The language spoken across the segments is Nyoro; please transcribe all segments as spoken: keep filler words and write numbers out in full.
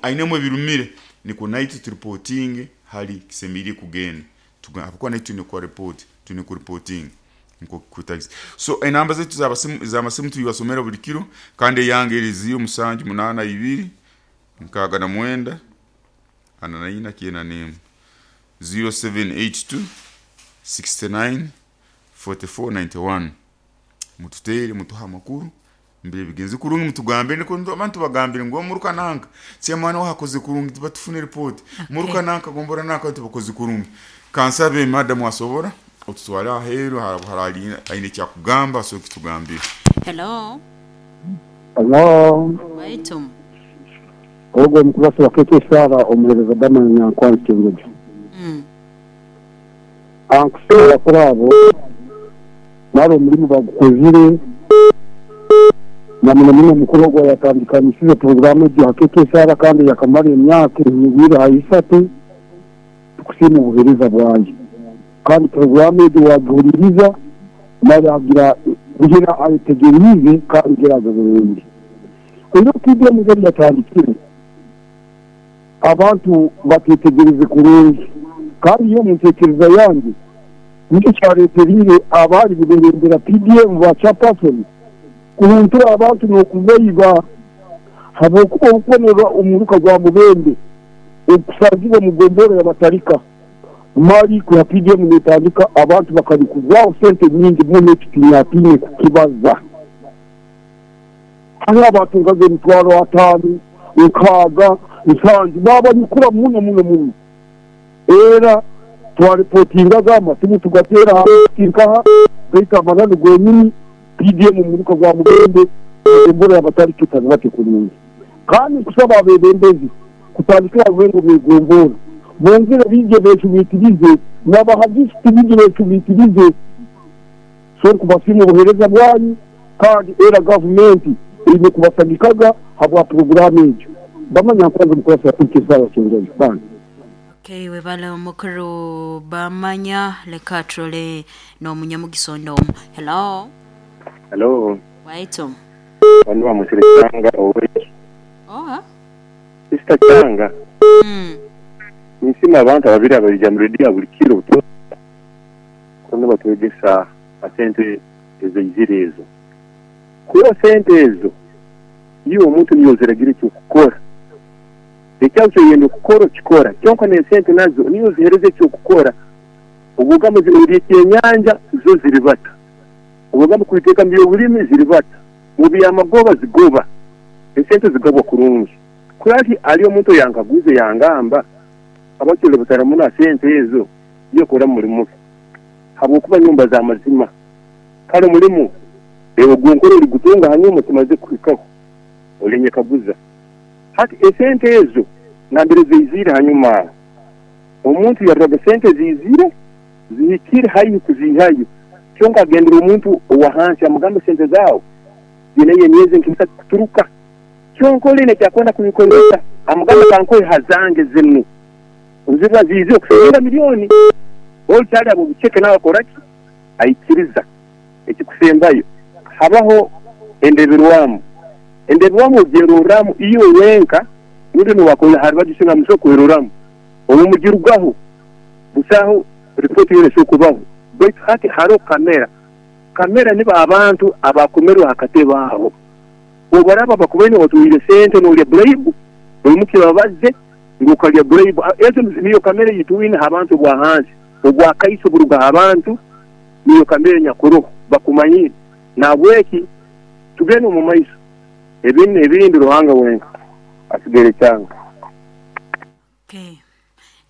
Ainemu ebirumire nikwo naitwe tureportinge hali kisemeriire kugenda, habwokuba naitwe twine kukora report, twine kureportinga nikwo kwetagisa. So enamba zaitu z'amasimu z'amasimu tubasomera buli kiro, kandi eyange eri ziro musanju munaana ibiri nkaaga na mwenda ana na ina kyenda n'emu, ziro seven eight two sixty-nine forty-four ninety-one. Mututeere, mutuhe amakuru mbere bigenze kurungi, mutugambire nikwo abantu tubagambire ngu omuruka nanka chairman waho akoze kurungi, tuba tufune report muruka nanka, gombora nanka tubakoze kurungi. Kansabe madamu asobora otutwale aheeru harali aine ekyakugamba, asobola kutugambira. Hello. Hello. Waitu. Ogwo omukurasi wa K K Sara, omuhereza Bamanya Nyankwanzi Kyenjojo. Mm. Ankuseera kuri abo nari omulimu bagukozire na muno muno omukuru ogwo yatandikanisize poroguramu egyo ha K K Sara, kandi yakamara emyaka ehingwire ha isatu. Tukusiima obuhereza bwayo, kandi poroguramu egyo wagihuririza mara agira kugira ayetegeriize kandi geraga burungi. Oyo P D M gari yatandikire, abantu batetegereze kurungi, kandi iyo mu ntekereza yange nicyo cyareterire abari kubebembera P D M ba chairperson kuhuntura abantu n'okubayiba, habwokuba obukubonera omuruka gwa Mubende okusazibwa mu gombora yabatarika mali kwa P D M netandika, abantu bakalikuzwaho sente nyingi muno, ekitinyatine kukibaza. Hariho abatungaga emitwaro ataano, nkaaga, nsanju, babanyukura muno muno muno. Era twareportingaga, amasimu tugateera nkaha, baitu amananu gonyini P D M omuruka gwa Mubende, embora yabatarika etazibate kurungi. Kandi nkusaba abebembezi kutandikira rwengo begombora bongere bije becumitirize n'abahagisiti bije becumitirize. So nkubasiima obuhereza bwanyu, kandi era gavumenti eine kubasagikaga habwa poroguramu egyo. Bamanya nkwanza mukurasa yakurikizaayo Kyenjojo kandi. Okay, webale omukuru Bamanya. Leka turole n'omunyamugiso omu. Hello. Hello. Waitu. Bano bamusire Kyanga oweki. Oh. Sister Kyanga. Mm. Nsima abantu ababiri abalija mu radio buli kiro kono batwegesa asente ezeizire ezo. Kuba sente ezo niyo omuntu niyo ziragira ekyokukora. Ekyazo kyoyenda okukora okikora. Kyonka n'esente nazo niyo zihereza ekyokukora. Obugamba ori ekyenyanja zo ziribata. Obugamba kubiteeka mu byobulimi ziribata. Mu byamagoba zigoba. Esente zigabwa kurungi. Kurati ali omuntu yankaguze yangamba abakyole bataramuna sente ezo yekora mulimu. Habwokuba nyumba za mazima. Kale mulimu ewe gunkoro ori gutunga hanyuma tumaze kuhikaho. Olenye kaguza. Hati esente ezo nambere zeizire hanyuma. Omuntu yarraga sente zizire zihikire haihi kuzihayo. Kyonka agendera omuntu owa hansi amugamba sente zaawe zinaye emyezi nk'isatu kuturuka. Kyonka oline kyakwenda kubikozesa amugamba kankoye hazange zinu. Ziba zize okusinga miliyoni. Olukyali abo buceke nawe akora ki? Aikiriza. Ekikusembayo. Habaho endeberwamu. Endeberwamu ogyerorramu iyo wenka rundi niwakola hari bagisinga muso kweroramu. Obu mugirugaho busaho ripoti yone kubaho. Baitu hati hariho kamera. Kamera niba abantu abakomerwe hakatebe aho. Obaraba bakubaine watwire sente n'olya bribe, buli babaze ngu okalya bribe. Ezo niyo kamera yitwine abantu bwa hansi. Obwakaiso buruga abantu niyo kamera nyakuroho bakumanyire. Nabweki tugende omu maiso. Ebindi ebindi Ruhanga wenka asigere Kyanga. Okay.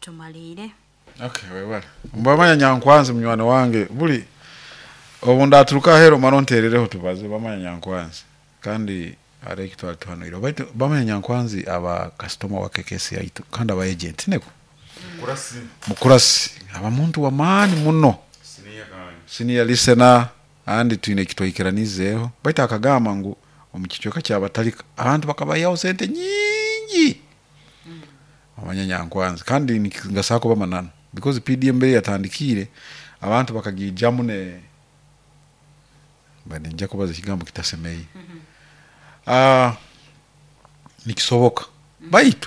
Tumalire. Okay, webale. Mbamanya Nyankwanzi munywani wange buli obu ndaturuka ahero mara onterereho tubaze Bamanya Nyankwanzi, kandi hariho ekitwali tuhanuire baitu Bamanya Nyankwanzi aba customer wa K K C yaitu kandi aba agent neko Mukurasi. Mukurasi aba muntu wa maani muno. Senior kandi. Senior listener, andi twine ekitwikiranizeeho, baitu akagamba ngu omu kicweka kyabatalika abantu bakabayaho sente nyingi. Bamanya Nyankwanzi kandi ngasaba kuba mananu because P D M mbere yatandikire abantu bakagijamu ne bade nja kubaza ekigambo kitasemei. Ah, nikisoboka baitu.